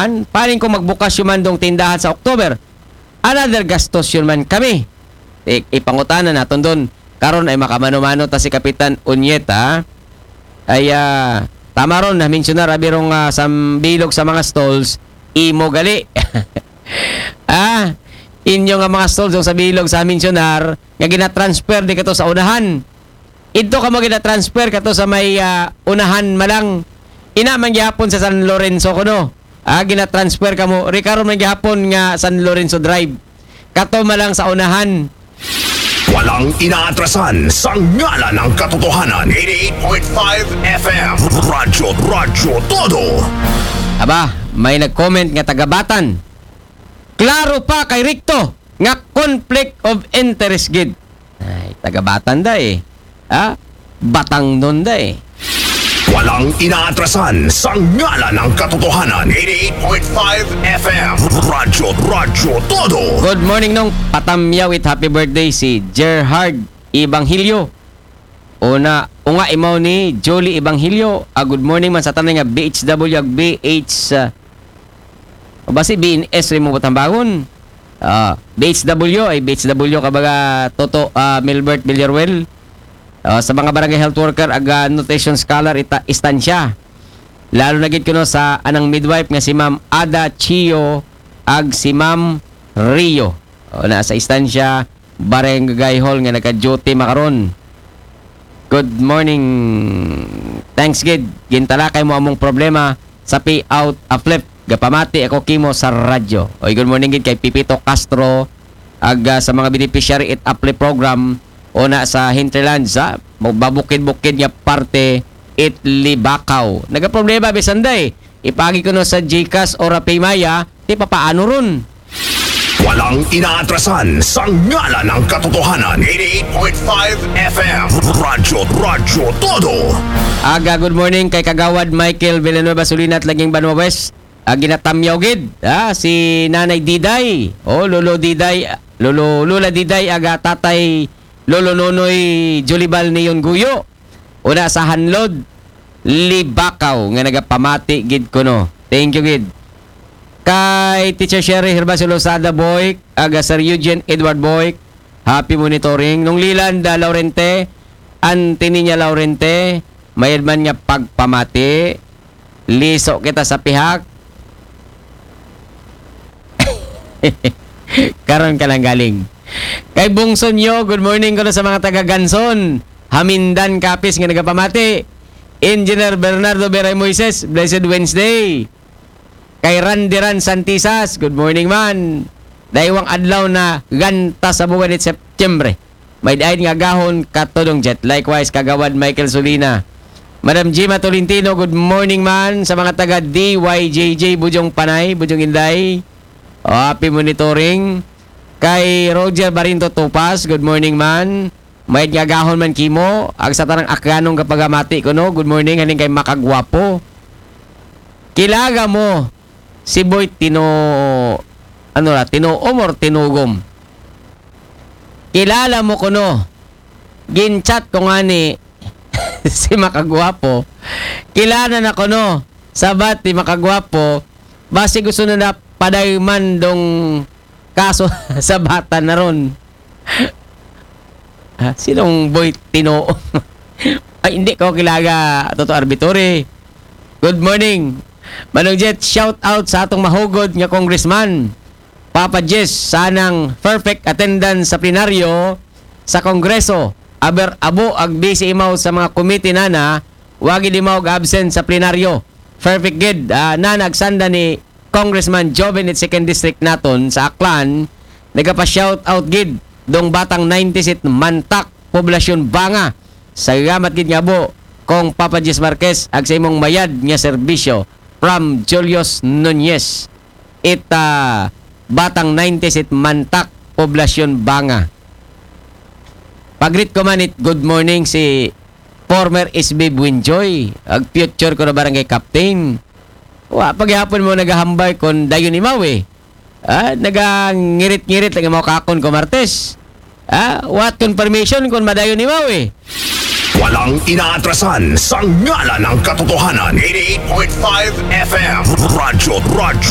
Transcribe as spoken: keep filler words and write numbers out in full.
An, paling kung magbukas yun man dong tindahan sa October, another gastos yun man kami. I, ipangutana naton don. Karon ay makamano-mano ta si Kapitan Unyet, ha? Ay, ah, tama ron, na-mensionar, abi rong, ah, sa bilog sa mga stalls, imo gali. Ah, inyo nga mga stalls, yung sa bilog sa mensionar, nga gina-transfer di kato sa unahan. Idto kamo gina-transfer kato sa may, ah, unahan malang. Ina man gihapon sa San Lorenzo kuno. Ah, gina-transfer kamo. Rikaron man gihapon nga San Lorenzo Drive. Kato malang sa unahan. Walang inaatrasan sa ngalan ng katotohanan. Eighty-eight point five F M. Radyo, Radyo Todo. Aba, may nag-comment nga taga-Batan. Klaro pa kay Rikto nga conflict of interest gid. Ay, taga-Batan da eh. Ha? Batangnon da eh. Walang inaatrasan sa ngalan ng katotohanan. Eighty-eight point five F M. Radyo, Radyo Todo. Good morning, Nong. Patamyaw it happy birthday si Gerhard Evangelio. Una, unga imaw ni Jolie Evangelio. Ah, good morning man sa tanan nga B H W ag B H, ah, o basi B N S rin mo tambagon. Ah, B H W ay B H W kabaga Toto, ah, Milbert Villaruel. Ah, sa mga barangay health worker ag, ah, nutrition scholar ita istansya. Lalo na gid kuno sa anang midwife nga si Ma'am Ada Chio ag si Ma'am Rio. O, na sa istansya, Barangay Hall nga nagka-duty makaron. Good morning. Thanks gid. Gintalakay mo among problema sa payout uplift. Gapamati ako kimo sa radyo. Oy, good morning gid kay Pipito Castro ag, ah, sa mga beneficiary it uplift program o na sa hinterlands, ha? Mabukid-bukid nga parte it Libakaw. Nagaproblema bisan day. Ipagi kuno sa GCash o Rapay Maya, ti papaano ron? Walang inaatrasan sa ngalan ng katotohanan. Eighty-eight point five F M. Radyo, Radyo Todo. Aga, good morning kay Kagawad Michael Villanueva Sulinat, Laging Banwa West. Ah, ginatamyaw gid, ah, si Nanay Diday. Oh, Lolo Diday, Lolo, Lola Diday, aga Tatay Lolo Nonoy Julibal Neon Guyo. Una sa Hanlod, Libakaw, nga nagapamati gid kuno. Thank you gid. Kay Teacher Sherry Herbacio Lozada Boyk, aga Sir Eugene Edward Boyk, happy monitoring. Nung Lilanda Laurente, Anthony niya Laurente, mayad man nga pagpamati. Liso kita sa pihak. Karon ka lang galing. Kay Bungson Yo, good morning kuno sa mga taga Ganson. Hamindan Kapis nga nagapamati. Engineer Bernardo Beray Moises, blessed Wednesday. Kay Randiran Santisas, good morning man. Daywang adlaw na ganta sa buwan ni Setyembre. May diay nga gahon katudong jet. Likewise, Kagawad Michael Solina. Madam Gima Tolentino, good morning man sa mga taga D Y J J, Bujong Panay, Bujong Inday. O, happy monitoring. Kay Roger Barinto Tupas, good morning man. May nga gahon man kimo, ag sa tanang Akyanong kapagamati kuno, good morning, haning kay Makagwapo. Kilaga mo si Boy Tino, ano ra, Tinuom or Tinugom? Kilala mo kuno? Gin-chat ko ngani si Makagwapo. Kilala na kuno, sabat ni Makagwapo, basi gusto na na padayman dong kaso sa bata na ron. Ha? Sinong Boy Tino? Ay, hindi ko kilaga, Toto Arbitore. Good morning. Manong Jet, shout out sa atong mahugod nga congressman. Papa Jess, sanang perfect attendance sa plenaryo sa Kongreso. Aber abo ag busy imaw sa mga komite nana, wagi di maw absent sa plenaryo. Perfect gid. Ah, nana, agsanda ni Congressman Joven it second district naton sa Aklan, nagapa-shout out gid dong batang nineties it Mantak, Poblasyon Banga. Salamat gid nga abo, Kong Papa Jis Marquez, ag sa imong mayad nga serbisyo. From Julius Nunez, it, ah, batang nineties it Mantak, Poblasyon Banga. Pagrit ko man it good morning si former S B Buenjoy, ag future ko na barangay captain. Wa pa gihapon mo nagahambal kon dayon imaw eh. Ah, nagangirit-ngirit lagi mo kakon ko Martes. Ah, what confirmation kon madayon imaw eh. Walang inaatrasan sa ngalan ng katotohanan. Eighty-eight point five F M. Radyo, Radyo